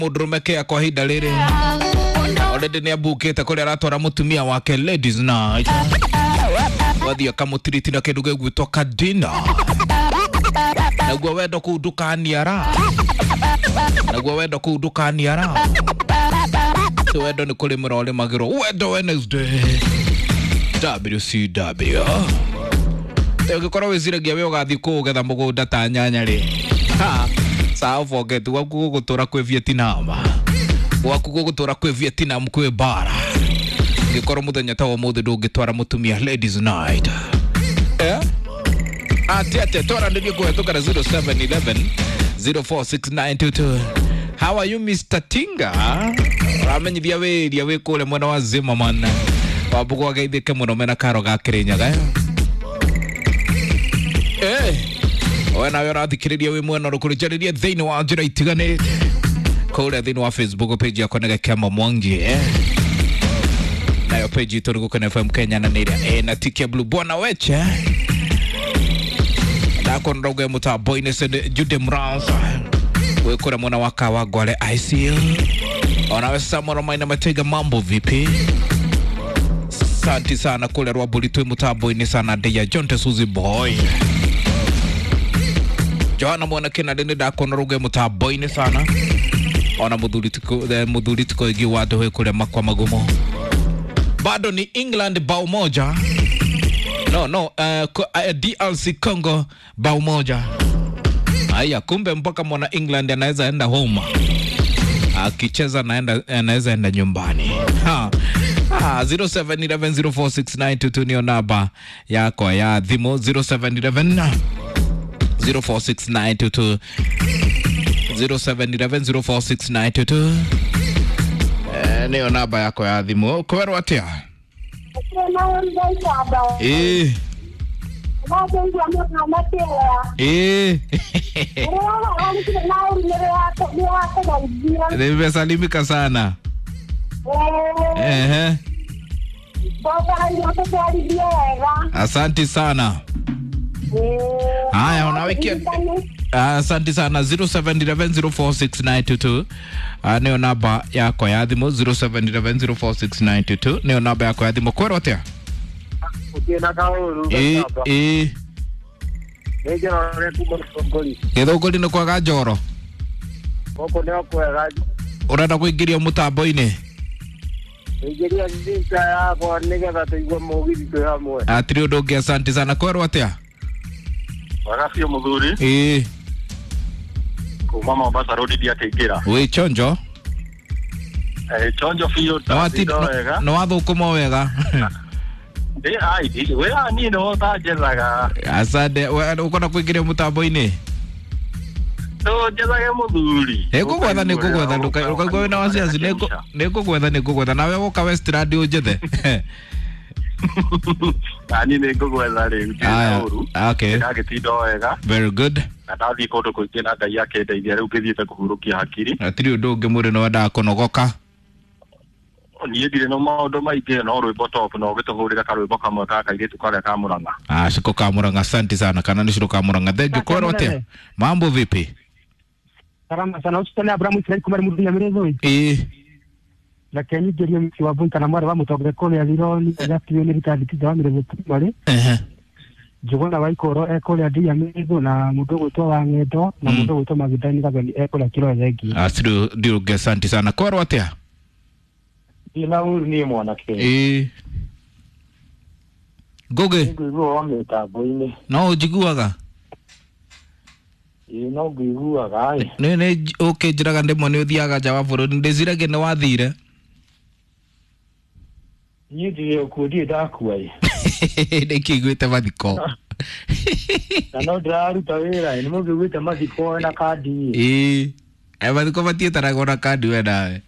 Mundurume kea kwa ihinda rĩrĩ already nĩ ambukĩte kũrĩa aratwara mũtumia wake ladies night, wathiĩ akamũtiriti na kĩndũ gĩgwĩtwo kadina, naguo wendo kũu ndũkaniara, naguo wendo kũu ndũkaniara. Ti wendo nĩ kũrĩmĩra ũrĩmagĩrwo. Wendo Wednesday WCW. Ũngĩkorwo wĩciragia we ũgathiĩ kũũgetha mũgũnda ta nyanya rĩ, ha sawa, forget. Gwaku gũgũtũra kwĩ Vietnam, gwaku gũgũtũra kwĩ Vietnam, kwĩ bara. Ngĩkorwo mũthenya ta wa ũmũthĩ ndũngĩtwara mũtumia ladies night, eh? Ati atĩa twaranĩrie kũhetũkĩra 0711 046922. How are you, Mr. Tinga? Ũramenyithia wĩria wĩ kũrĩa mwena wa Zimmerman. Wambugu ageithĩke mũno mena karo ga Kĩrĩnyaga. Eh, we nawe ũrathikĩrĩria wĩ mwena ũrĩkũ? Njarĩrie thĩinĩ wa njĩra itiganĩte kũrĩa thĩinĩ wa Facebook page yakwa nĩ Gakema Mwangi, eh? Nayo page itũ nĩ Gũkena FM Kenya na nĩ ĩrĩa ĩna tick ya blue. Bwana Weche ndakona rauga mũtambo-inĩ. Send Jude Mrans wĩ kũrĩa mwena wa Kawangware ICU. Onawe Samuel Maina Matega, mambo vipi? Santi sana kũrĩa Rwambũri twĩ mũtambo-inĩ sana. Ndeya John Suzy Boy Johanna mwana kinande nĩ ndakona rauga mũtambo-inĩ sana. Ona mũthuri tiko igi wa ndũhĩ kũrĩa makwa magumo. Bado ni England bao moja, no no, DRC Congo bao moja. Haya, kumbe mpaka mwana England anaweza enda home akicheza, naenda anaweza enda nyumbani. Ha. Ah, 0711046922 niyo namba yakwa ya thimũ. 0711 046922, 0711046922, eh, niyo namba yakwa ya thimũ. Kwerwo atĩa? Ĩĩ. Ĩĩ, nimesalimika sana. Ehe, asanti sana. Haya, unawekia. Asante sana. 0711046922 niyo namba yakwa ya thimũ. 0711046922 niyo namba yakwa ya thimũ. Kwerwo atĩa? Ũkĩna kaũru. Ĩĩ ĩĩ. Nĩ Njoroge kuma Gĩthũngũri. Gĩthũngũri nĩ kwaga njoro? Gũkũ nĩ kwega. Ũrenda kũingĩrio mũtambo-inĩ? Ingĩria thita yakwa nĩgetha tũigue mũgithi twĩ hamwe. Atirĩ ũndũ ũngĩ, asante sana. Kwerwo atĩa? Wega biũ mũthuri. Ĩĩ. Kuma Mombasa Road ndiakĩingĩra. Wĩ chonjo? Eh, chonjo biũ. Ndatinda wega. Nĩ wathũkũma wega? Ndĩ ai we niĩ nĩwe ũtanjethaga. Asante. Ũkwenda kũingĩrio mũtambo-inĩ? Tũnjethage mũthuri. Nĩngũgwetha, nĩngũgwetha, ndũkaigua wĩna wasiwasi. Nĩngũgwetha, nĩngũgwetha. Nawe woka Westland ũnjethe. Na niĩ nĩngũgwetha rĩu ndirĩ Aya, na ũru. okay. Ndagĩtinda wega. Very good. Na ndathiĩ kũndũ kũingĩ na Ngai akĩndeithia, rĩu ngĩthiĩte kũhurũkia hakiri. Hatirĩ ũndũ ũngĩ, mũndũ nĩwendaga kũnogoka. Niĩ ndirĩ na maũndũ maingĩ, no rwĩmbo top no ũgĩtũhũrĩre karwĩmbo kamwe ka kairĩtu karĩa ka Mũrang'a. Ah, Shiko ka Murang'a, asante sana. Kana ni Shiko ka Murang'a. Thank you. Kwero atĩa? Mambo vipi? Salama sana. Ũcitane Abrahamu Israel kuma mũndũ Nyamĩrĩthũ. Ĩĩ. Reke nyingĩrie mĩciĩ wa Mbui kana mwarĩ wa mũtongoria kũrĩa Rironi Gakiũ nĩ ritandĩkithia wa Mĩrĩthũ Primary. Ehe. Njũgũna wa Ikoro ekũrĩa Ndiamĩrĩthũ na mũndũ ũgwĩtwo wa Ng'endo na mũndũ ũgwĩtwo Magindani Gathoni ekũrĩa Kĩrore thengiũ. Hatirĩ ũndũ ũngĩ, asante sana. Kwero atĩa? Ndina ũru niĩ mwanake. Ĩĩ. Ngũgĩ, Ngũigua wa mĩtambo-inĩ. no ũnjiguaga? Ĩĩ, no ngũiguaga ĩ. Nĩ nĩ ũkĩnjĩraga ndĩmwe nĩ ũthiaga nja wa bũrũri, ndĩciragia nĩ wathire. Niĩ ndirĩ okuo, ndirĩ ndakua ĩ. Nĩkĩiguĩte mathiko. Na no ndĩraruta wĩra ĩ, nĩ mũngĩiguĩte mathiko na kandi ĩ. Ĩĩ. Eh, mathiko matiĩtaragwo na kandi we nawe.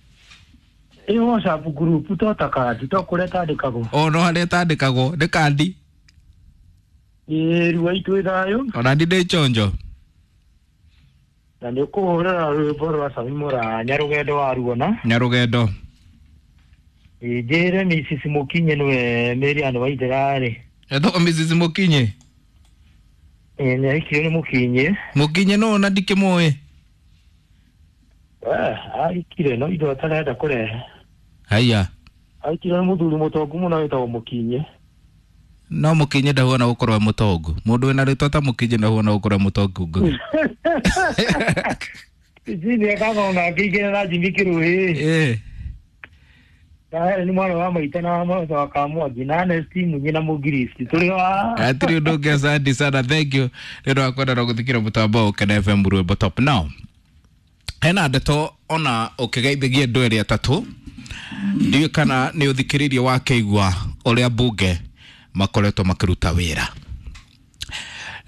Ĩ, WhatsApp group to ta kandi to kũrĩa tandĩkagwo. O no harĩa ĩtandĩkagwo nĩ kandi. Ĩ, ruai twĩ thayũ. Ona ndi ndĩ chonjo. Na nĩ ũkũhũrĩra rwĩmbo rwa Sami Mũranya rũgendo waruona. Nyarũgendo. Ĩ, njĩre Mrs. Mũkinyi nĩwe Miriam Waithera-rĩ. Etagwo Mrs. Mũkinyi. Ĩ, nĩ ahikirio nĩ Mũkinyi. Mũkinyi no na ndikĩmũĩ. Aikire no indo atarenda kũrehe. Haiya. Aikire nĩ mũthuri mũtongu mũno wĩtagwo Mũkinye. No Mũkinye ndahuana gũkorwo e mũtongu. Mũndũ wĩna rĩtwa ta Mũkinye ndahuana gũkorwo e mũtongu Ngugi. Jini ekaga nake igĩrĩ na Jimmy Kĩrũĩ. Eh. Na nĩ mwana wa maitũ na mwana wa Kamwangi na Ernest Munyi na Mũgiristi. Tũrĩ wa Hatirĩ ũndũ ũngĩ, asante sana, thank you nĩ ũndũ wa kwenda na gũthikĩra mũtambo wa Ũkena FM rwĩmbo top. Now hena ndeto ona ũkĩgeithagia andũ erĩ atatũ, ndiũĩ kana nĩ ũthikĩrĩirie wakĩigua ũrĩa mbunge makoretwo makĩruta wĩra,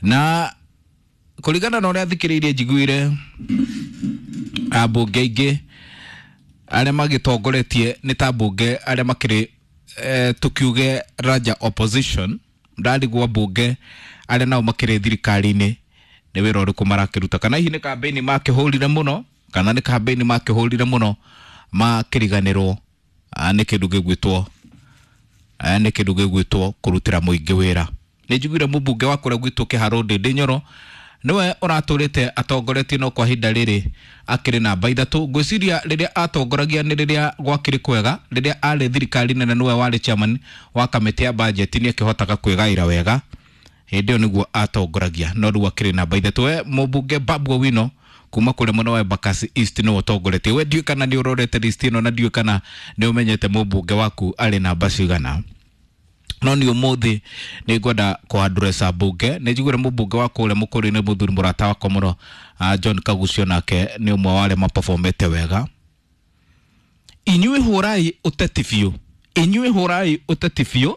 na kũringana na ũrĩa thikĩrĩirie njiguire ambunge aingĩ arĩa magĩtongoretie nĩ ta mbunge arĩa makĩrĩ tukiuge raja opposition. Ndarigwo mbunge arĩa nao makĩrĩ thirikari-inĩ nĩ wĩra ũrĩkũ marakĩruta, kana hihi nĩ kambĩini makĩhũrire mũno, kana nĩ kambĩini makĩhũrire mũno makĩriganĩrwo nĩ kĩndũ gĩgwĩtwo nĩ kĩndũ gĩgwĩtwo kũrutĩra mũingĩ wĩra. Nĩ njiguire mũmbunge wa kũrĩa gwitũ Kĩharũ Ndĩndĩ Nyoro nĩwe ũratũrĩte atongoretie, no kwa ihinda rĩrĩ akĩrĩ namba 3. Ngwĩciria rĩrĩa atongoragia nĩ rĩrĩa gwakĩrĩ kwega, rĩrĩa arĩ thirikari nene nĩwe warĩ chairman wa kamĩtĩ ya bajeti, nĩ akĩhotaga kwĩgaĩra wega hĩndĩ ĩyo nĩguo atongoragia, no rĩu akĩrĩ namba 3. We mũmbunge Babu Owino kuma kũrĩa mwena wa Embakasi East nĩwe ũtongoretie. We ndiũĩ kana nĩ ũrorete list ĩno na ndiũĩ kana nĩ ũmenyete mũmbunge waku arĩ namba cigana, no nĩ ũmũthĩ nĩ ngwenda kũandresa mbunge. Nĩ njiguire mũmbunge wa kũrĩa mũkũrũ-inĩ, mũthuri mũrata wakwa mũno, John Kagucio, nake nĩ ũmwe wa arĩa mapafomete wega. Inyuĩ hũrai ũteti biũ, inyuĩ hũrai ũteti biũ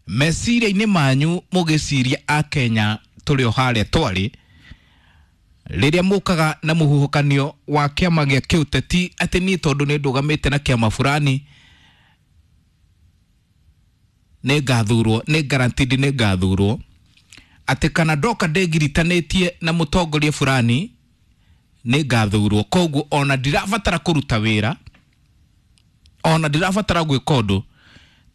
meciria-inĩ manyu, mũgĩciria akenya tũrĩ o harĩa twarĩ rĩrĩa mũkaga na mũhuhũkanio wa kĩama gĩa kĩũteti, atĩ niĩ tondũ nĩ ndũgamĩte na kĩama fulani nĩ ngathurwo, nĩ guaranteed nĩ ngathurwo, atĩ kana ndoka ndĩngiritanĩtie na mũtongoria fulani nĩ ngathurwo, koguo ona ndirabatara kũruta wĩra, ona ndirabatara gwĩka ũndũ,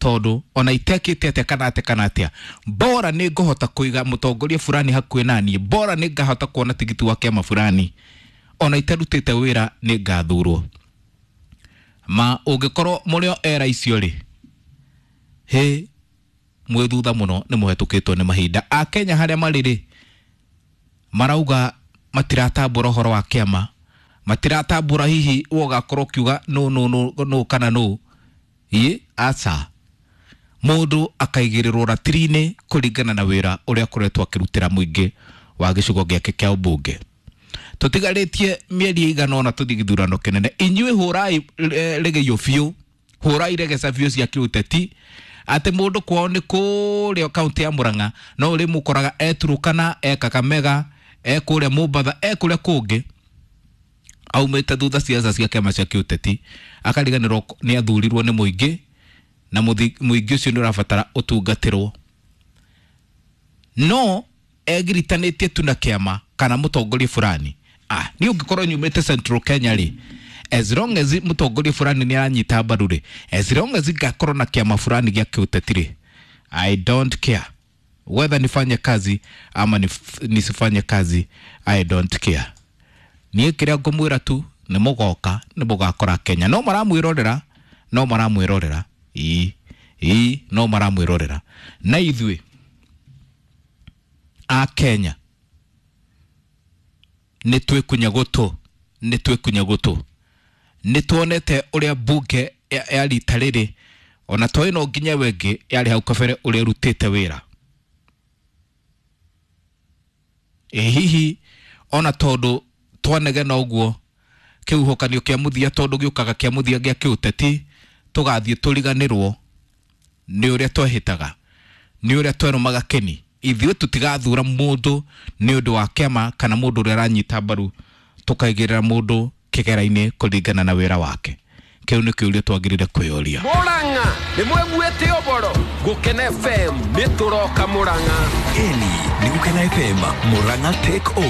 tondũ ona itekĩte atĩa kana atĩa kana atĩa, bora nĩ ngũhota kũiga mũtongoria fulani hakuhĩ naniĩ, bora nĩ ngahota kuona tigiti wa kĩama fulani, ona itarutĩte wĩra nĩ ngathurwo. Ma ũngĩkorwo mũrĩ o era icio rĩ, hĩ mwĩ thutha mũno, nĩ mũhetũkĩtwo nĩ mahinda. Akenya harĩa marĩ rĩ, marauga matiratambũra ũhoro wa kĩama, matiratambũra hihi we ũgakorwo ũkiuga no no no no kana no ĩ aca, mũndũ akaigĩrĩrwo ratiri-inĩ kũringana na wĩra ũrĩa akoretwo akĩrutĩra mũingĩ wa gĩcigo gĩake kĩa ũmbunge. Tũtigarĩtie mĩeri ĩigana ũna tũthiĩ gĩthurano kĩnene. Inyuĩ hũrai rĩgĩo biũ, hũrai regeca biũ cia kĩũteti, atĩ mũndũ kwao nĩ kũrĩa kaũntĩ ya Murang'a, no ũrĩ mũkoraga e Turukana, e Kakamega, e kũrĩa Mombatha, e kũrĩa kũngĩ, aumĩte thutha ciaca cia kĩama cia kĩũteti, akariganĩrwo nĩ athurirwo nĩ mũingĩ, na mũingĩ ũcio nĩ ũrabatara ũtungatĩrwo, no egiritanĩtie tu na kĩama kana mũtongoria fulani. Niĩ ũngĩkorwo nyumĩte Central Kenya rĩ, as long as mũtongoria fulani nĩ aranyita mbaru rĩ, as long as ngakorwo na kĩama fulani gĩa kĩũteti rĩ, I don't care whether nifanye kazi ama nisifanye kazi, I don't care. Niĩ kĩrĩa ngũmwĩra tu nĩ mũgoka nĩ mũgakora Kenya no maramwĩrorera, no maramwĩrorera, ii ii no maramwĩrorera. Na ithuĩ a Kenya nĩ twĩkunya gũtũ, nĩ twĩkunya gũtũ, nĩ tuonete ũrĩa mbunge ya rita rĩrĩ ona to ĩno nginya wengĩ yarĩ hau kabere ũrĩa ĩrutĩte wĩra. Ĩ hihi ona tondũ twanegena ũguo kĩhuhũkanio kĩa mũthia, tondũ gĩũkaga kĩa mũthia gĩa kĩũteti, tũgathiĩ tũriganĩrwo nĩ ũrĩa twehĩtaga, nĩ ũrĩa twerũmaga kĩni. Ithuĩ tũtigathura mũndũ nĩ ũndũ wa kĩama kana mũndũ ũrĩa aranyita mbaru, tũkaigĩrĩra mũndũ kĩgera-inĩ kũringana na wĩra wake. Kĩu nĩ kĩũria twagĩrĩire kwĩyũria. Murang'a nĩ mweguĩte ũboro Gũkena FM nĩ tũroka Murang'a. Ĩni nĩ Gũkena FM Murang'a take over.